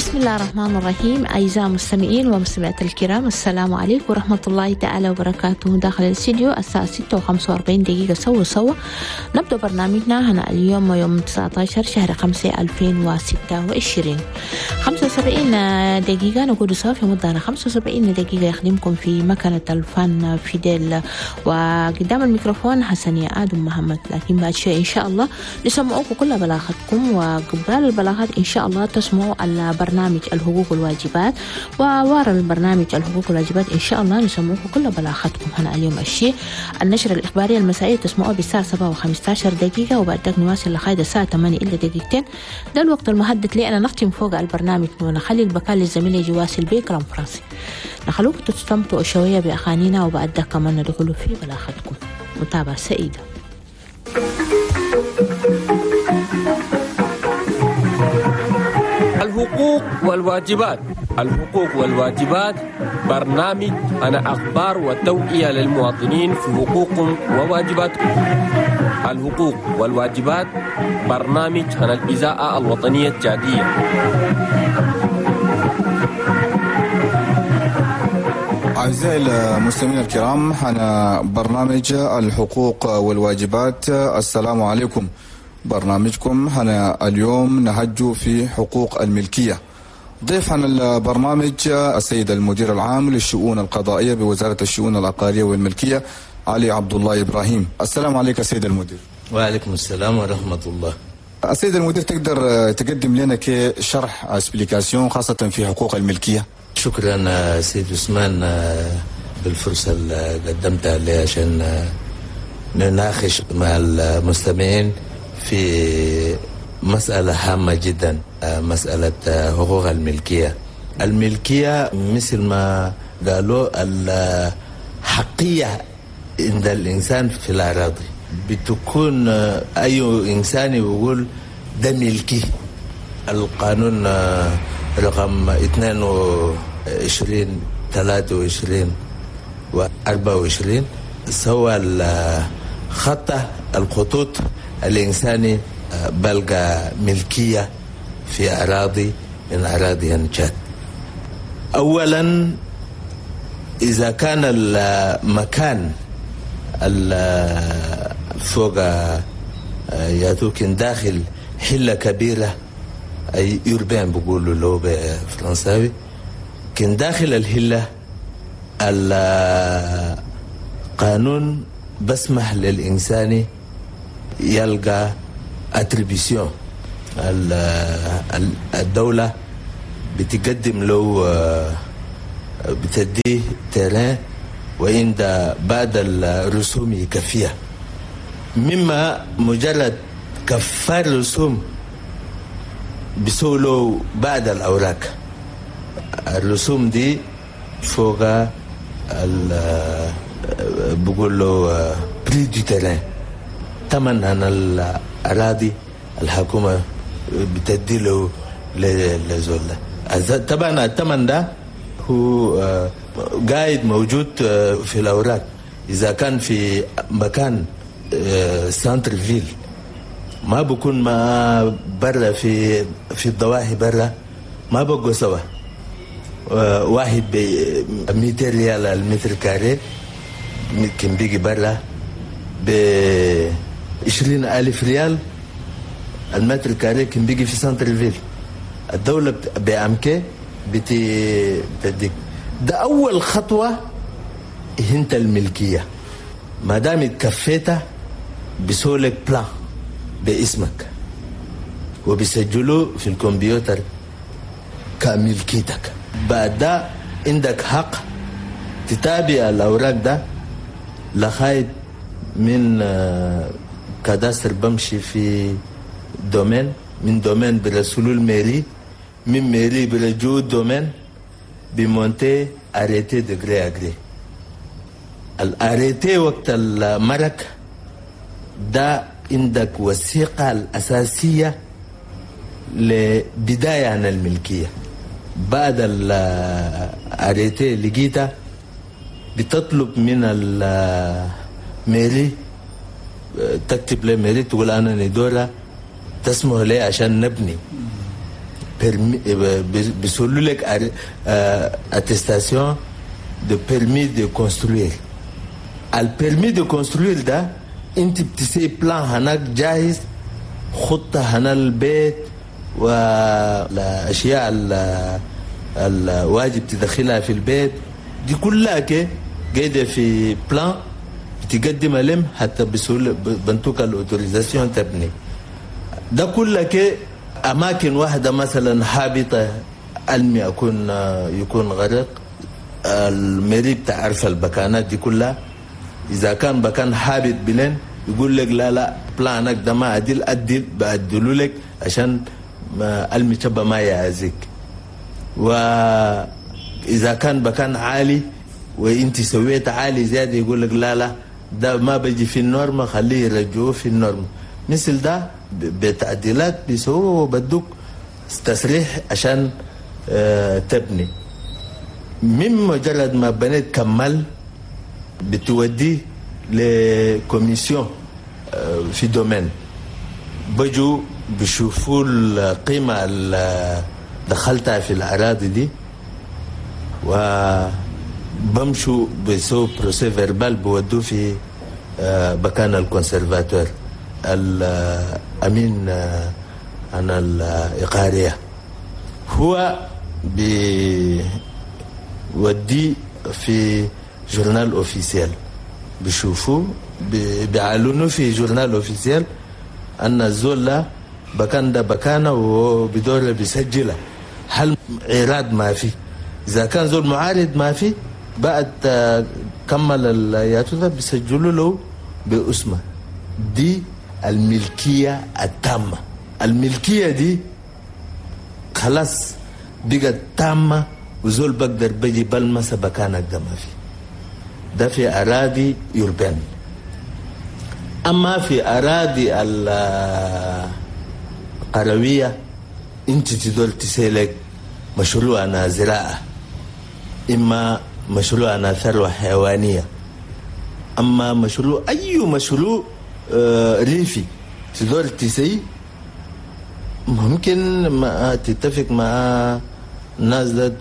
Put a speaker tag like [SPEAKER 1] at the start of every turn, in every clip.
[SPEAKER 1] بسم الله الرحمن الرحيم. أعزائي المستمعين ومستمعات الكرام، السلام عليكم ورحمة الله تعالى وبركاته. داخل الاستديو الساعة 6:45 سوا سوا نبدأ برنامجنا هنا اليوم يوم 19 شهر 5 2026. 75 دقيقة نقول سوا في مدة 75 دقيقة يخدمكم في مكنة الفن فيديل، وقدام الميكروفون حسن آدم محمد. لكن بعد شوي إن شاء الله نسمعوكم كل بلاغاتكم، وقبال البلاغات إن شاء الله تسمعوا البرنامج الحقوق والواجبات، وورا البرنامج الحقوق والواجبات إن شاء الله نسمعوكم كل بلاغاتكم هنا اليوم. الشيء النشرة الإخبارية المسائية تسمعوها بالساعة 7:15، وبعد ذلك نواصل لغاية الساعة 7:58. ده الوقت المحدد لي أنا نختم فوق البرنامج ونخلي البكال للزميل يجي واصل بكلام فرنسي. نخلوكم تستمتعوا شوية بأغانينا، وبعد ذلك كمان ندخلوا في بلاغاتكم. متابعة سعيدة.
[SPEAKER 2] الحقوق والواجبات. الحقوق والواجبات برنامج أنا أخبار وتوعية للمواطنين في حقوقهم وواجباتهم. الحقوق والواجبات برنامج عن الإذاعة الوطنية التشادية.
[SPEAKER 3] أعزائي المستمعين الكرام، أنا برنامج الحقوق والواجبات. السلام عليكم. برنامجكم هنا اليوم نهج في حقوق الملكية. ضيف عن البرنامج السيد المدير العام للشؤون القضائية بوزارة الشؤون العقارية والملكية علي عبد الله إبراهيم. السلام عليك سيد المدير.
[SPEAKER 4] وعليكم السلام ورحمة الله.
[SPEAKER 3] السيد المدير، تقدر تقدم لنا كشرح explication خاصة في حقوق الملكية؟
[SPEAKER 4] شكرا سيد عثمان بالفرصة اللي قدمتها لي عشان نناقش مع المستمعين في مسألة هامة جدا، مسألة حقوق الملكية. الملكية مثل ما قالوا الحقية عند الإنسان في الأراضي، بتكون أي إنسان يقول ده ملكي. القانون رقم 22 23 و24 سوى خطة الخطوط الإنساني بلغ ملكية في أراضي من أراضي تشاد. أولا إذا كان المكان فوق ياتوكن داخل حلة كبيرة، أي urbain بقولوا له بالفرنساوي، كان داخل الحلة القانون بسمح للإنسان يلقى attribution. الدولة بتقدم له، بتديه terrain وعند بعد الرسوم يكفيها، مما مجرد كفار رسوم بسولو بعد الأوراق. الرسوم دي فوق بقول له prix du terrain، ثمن عن الأراضي الحكومة بتدي له لزول. طبعا الثمن ده هو قاعد موجود في الأوراق. إذا كان في مكان centre-ville ما بكون ما برا في الضواحي برا ما بقوا سوا، واحد ب 200 ريال المتر carré يمكن بيجي برا ب 20,000 ريال المتر carré كان بيجي في centre-ville. الدولة بأمكي بتديك. ده أول خطوة هنت الملكية. ما دام اتكفيتها بسولك plan باسمك وبيسجلوه في الكمبيوتر كملكيتك. بعد ده عندك حق تتابع الأوراق ده لغاية من cadastre بمشي في domaine، من domaine برسولو ال mairie، من mairie برجو domaine بمونتي arrêté de gré à gré. ال arrêté وقت المرك ده عندك وثيقة الأساسية لبداية عن الملكية. بعد ال arrêté لقيتها بتطلب من ال mairie، تكتب ل mairie تقول أنا ندورة تسمح لي عشان نبني. permis، بيسولوا لك attestation de permis de construire. ال permis de construire ده انت بتسي plan هناك جاهز، خطة هنا البيت والاشياء الواجب تدخلها في البيت دي كلها كي قاعدة في plan بتقدمها لهم حتى بسهولة بنتوك ال autorisation تبني. ده كله كي اماكن واحدة مثلا هابطة المي يكون غرق، ال mairie بتعرف البكانات دي كلها. اذا كان بكان هابط بلين يقول لك لا لا plan ك ده ما عدل، عدل بعدلوا لك عشان ما المي ما يعزك. واذا كان بكان عالي وانت سويت عالي زيادة يقول لك لا لا ده ما بيجي في ال norme، خليه يرجعوه في ال norme. مثل ده بتعديلات بيسووه وبدوك تصريح عشان تبني. من مجرد ما بنيت كمل بتوديه ل commission في domaine، بجوا بيشوفوا القيمة اللي دخلتها في الأراضي دي وبمشوا بيسووا procès-verbal بودوه في مكان ال conservateur الأمين عن الإقارية، هو بيودي في journal officiel، بيشوفوا بيعلنوا في journal officiel أن الزول بكان ده بكانه وبدور بيسجله. هل عراض ما في؟ إذا كان زول معارض ما في بعد كمل الياتو ده بيسجلوا له باسمه. دي الملكية التامة. الملكية دي خلاص بقت تامة وزول بقدر بيجي بلمسة بكانك ده ما في. ده في أراضي urbaine. أما في أراضي القروية أنت تدور تسيلك مشروع أنا زراعة، إما مشروع أنا ثروة حيوانية، أما مشروع أي مشروع ريفي تدور تسي ممكن ما تتفق مع الناس ده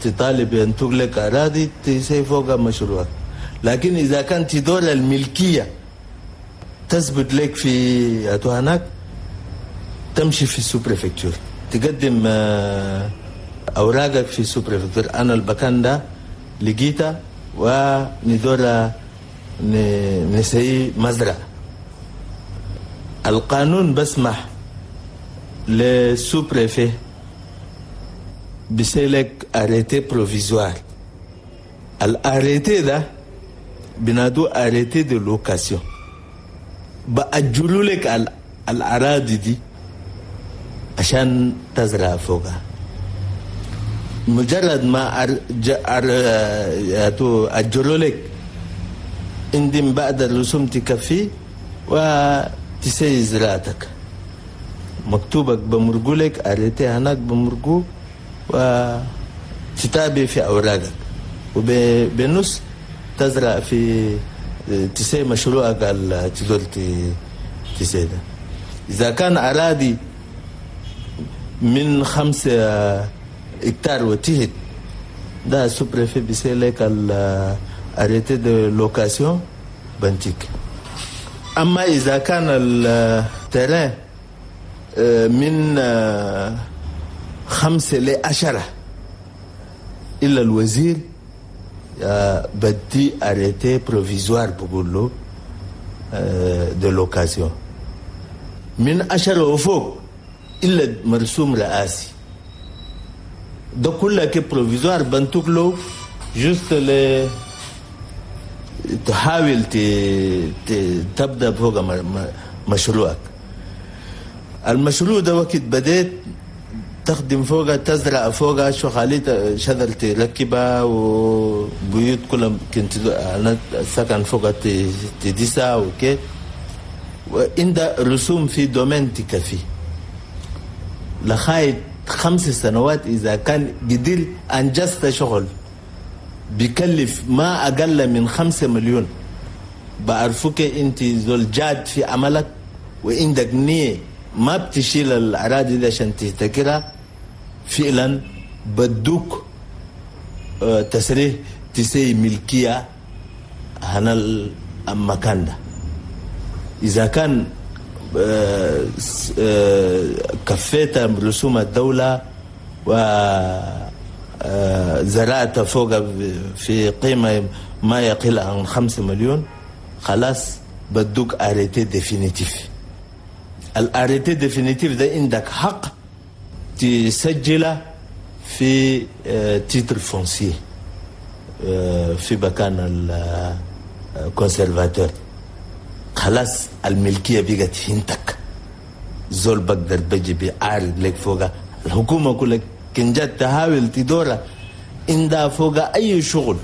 [SPEAKER 4] تطالب أن تغلق أراضي تسي فوق مشروعك. لكن إذا كان تدور الملكية تثبت لك في هناك، تمشي في ال sous-préfecture تقدم أوراقك في ال sous-préfecture، أنا البكان ده لقيته وندور نسي مزرعة. القانون بسمح لل sous-préfet بسيلك arrêté provisoire. ال arrêté ده بنادو arrêté de location، بأجلوا لك الأراضي دي عشان تزرع فوقها. مجرد ما أجلوا لك عندهم بعد الرسوم تكفي وتسي زراعتك، مكتوبك بمرقولك arrêté هناك بمرقو وتتابع في أوراقك وبنص تزرع في تسي مشروعك تدور تسي ده. إذا كان أراضي من 5 هكتار وتهت ده sous-préfet بيسيلك ال arrêté de location بنتيك. أما إذا كان ال terrain من 5 ل 10 إلا الوزير بدي arrêté provisoire بقول له de location من 10 وفوق إلا مرسوم رئاسي ده كله كي provisoire بنتوك له juste ل تحاول تبدأ فوق مشروعك. المشروع ده وقت بديت تخدم فوقها تزرع فوقها شو خليت شجر تركبها وبيوت كلها كنت أنا سكن فوقها تديسها وكي وعند رسوم في domaine تكفي لغاية 5 سنوات. إذا كان قدر أنجزت شغل بيكلف ما أقل من 5 مليون بعرفك أنت زول جاد في عملك وعندك نية ما بتشيل الأراضي دي عشان تهتكرها. فعلا بدوك تصريح تسي ملكية هنا المكان ده. إذا كان كفيت رسوم الدولة وزرعت فوق في قيمة ما يقل عن 5 مليون، خلاص بدوك arrêté définitif. ال arrêté définitif ده عندك حق تسجله في titre foncier في مكان ال conservateur. خلاص الملكية بقت هنتك، زول بقدر بجي بيعارض لك فوقها. الحكومة كلها كن جات تحاول تدورها عندها فوقها أي شغل،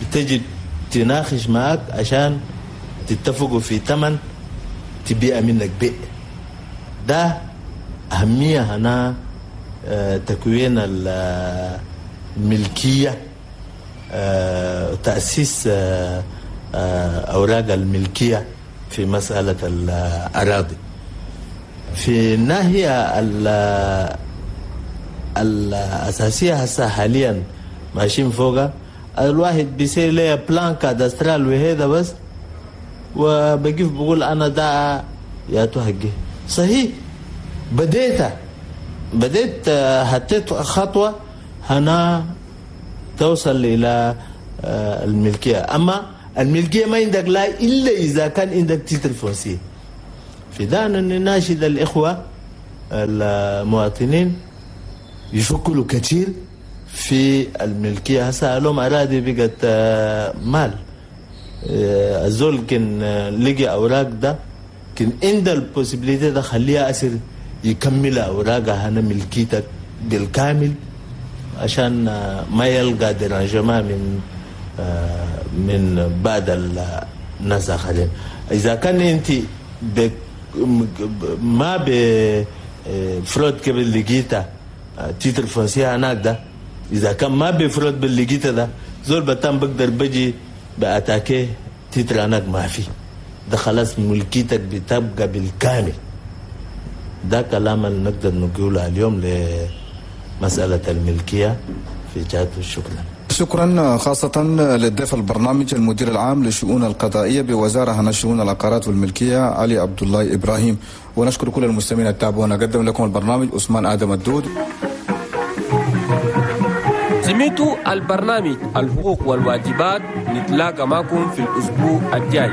[SPEAKER 4] بتجي تناقش معك عشان تتفقوا في ثمن تبيع منك بيع. ده أهمية هنا تكوين الملكية، تأسيس أوراق الملكية في مسألة الأراضي. في الناحية الأساسية هسه حاليا ماشيين فوقها، الواحد بيصير لي plan cadastral وهذا بس، وبقيف بقول أنا ده يا حقي. صحيح بديت حطيت خطوة هنا توصل إلى الملكية. أما الملكية ما عندك لا إلا إذا كان عندك titre foncier. في ده نناشد الإخوة المواطنين يفكروا كثير في الملكية. هسه لهم أراضي بقت مال، الزول كان لقي أوراق ده كان عند ال possibilité ده خليها أسر يكمل أوراقها هنا ملكيتك بالكامل، عشان ما يلقى dérangement من بعد الناس آخرين. إذا كان أنت ما ب fraude قبل لقيتها titre foncier هناك ده، إذا كان ما ب fraude باللقيتها ده زول بتام بقدر بجي ب attaquer titre هناك ما في ده، خلاص ملكيتك بتبقى بالكامل. ده كلام اللي نقدر نقوله اليوم لمسألة الملكية في جهة. شكرا.
[SPEAKER 3] شكرا خاصة للضيف البرنامج المدير العام للشؤون القضائية بوزارة هنا شؤون العقارات والملكية علي عبد الله إبراهيم، ونشكر كل المستمعين التابعونا. قدم لكم البرنامج عثمان آدم الدود.
[SPEAKER 2] سمعتوا البرنامج الحقوق والواجبات، نتلاقى معكم في الأسبوع الجاي.